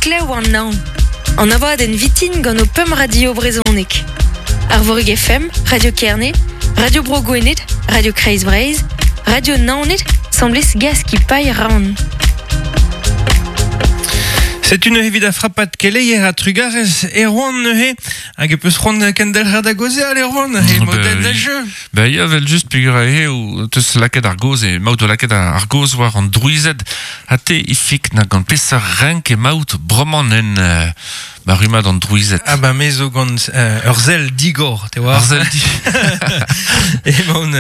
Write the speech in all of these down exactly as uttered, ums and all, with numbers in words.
Heklev an naon. An abadenn vitin gant o pemp radio brezhoneg. Arvorig F M, Radio Kerne, Radio Bro Gwened, Radio Kreiz Breizh, Radio Naoned, semblez gaz ki paille raon. C'est une evit a frapat keleier a trugarez Erwan neuze hag e peus c'hoant kendelc'her da gozeal Erwan e model da jeu. Ba ya vel just peogwir eo teus lakaet ar goz e maout o lakaet ar goz war an drouized ha te ifik na gant peseurt renk e maout bremañ en euh, ba rummad an drouized. Ah ba me zo gant euh, ur sell digor, te oar. Ur sell digor. E maon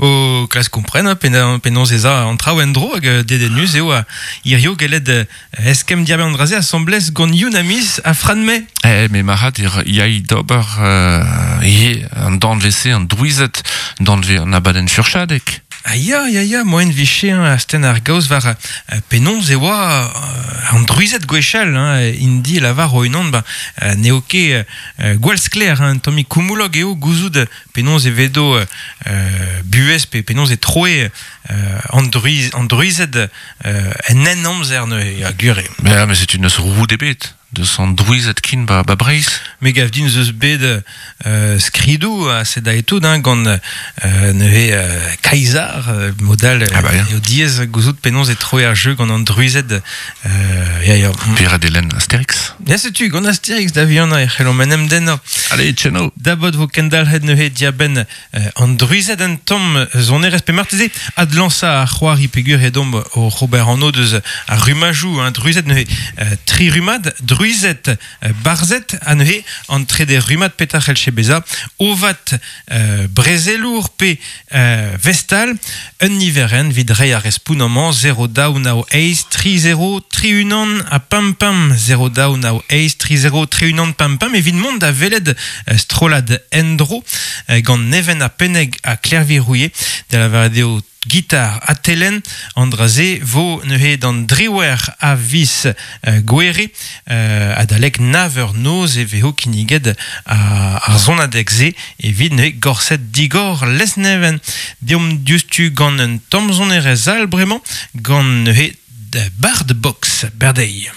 o klask kompren, penaos ez a an traoù en-dro hag dedennus eo a hirio gellet eskemm diarbenn an draze asambles gant Youn Amis a Fran May. Eh, me marad yai d'ober euh, ye an danvez-se an drouized, danvez an abadenn furchadek. Ah ya, ya, ya, moen viche hein, asten ar gaoz war euh, penaos e oa euh, an drouized gwechall, hein, indi lavar o unan, ba, euh, n'eo ket euh, gwall sklaer, hein, tommi koumoulog eo gouzout penaos e vedo euh, buhez pe penaos e troe euh, an drouiz, an drouized euh, en en amzer neuze, ya gure. Mais, mais c'est une roue des bêtes. De son drouized kin ba, ba Breizh. Me gav din zeus bet euh, skridou a sed a etout, hein, gant euh, neuze euh, Kaisar, euh, modal ah bah, eo diez gouzout penaos e troe ar jeu gant an drouized euh, ya, ya. Pere delen Astérix. Ya setu, gant Astérix da vihan e c'hellomp en em dennañ. Allez, tcheno. Dabot vo kendalc'het neuze diabenn euh, an drouized an tamm sonerezh pe marteze adlansa ar c'hoari peogwir edomp o Robert Anno deus ar rumajou, hein, drouized neuze euh, tri rumad, drouized barzet a neuze an trede rumat petar c'hellche beza ovat euh, brezelour pe euh, vestal un niveren vid rei ar respoun amañ zero daou nao eiz tri zero tri unan a pam pam zero daou nao eiz tri zero tri unan pam pam evit mont da velet euh, strolad endro euh, gant Neven a Penneg a Klervi Rouillet da lavaret eo gitar a telen andraze vo neuze d'an driwer a vis euh, gwere euh, adalek naver noz e vezo kinniget a, ar zonadeg se evit neuze gorset digor lesneven deomp diouzhtu gant un tamm sonerezh all bremañ gant neuze Bard Box berdeiz.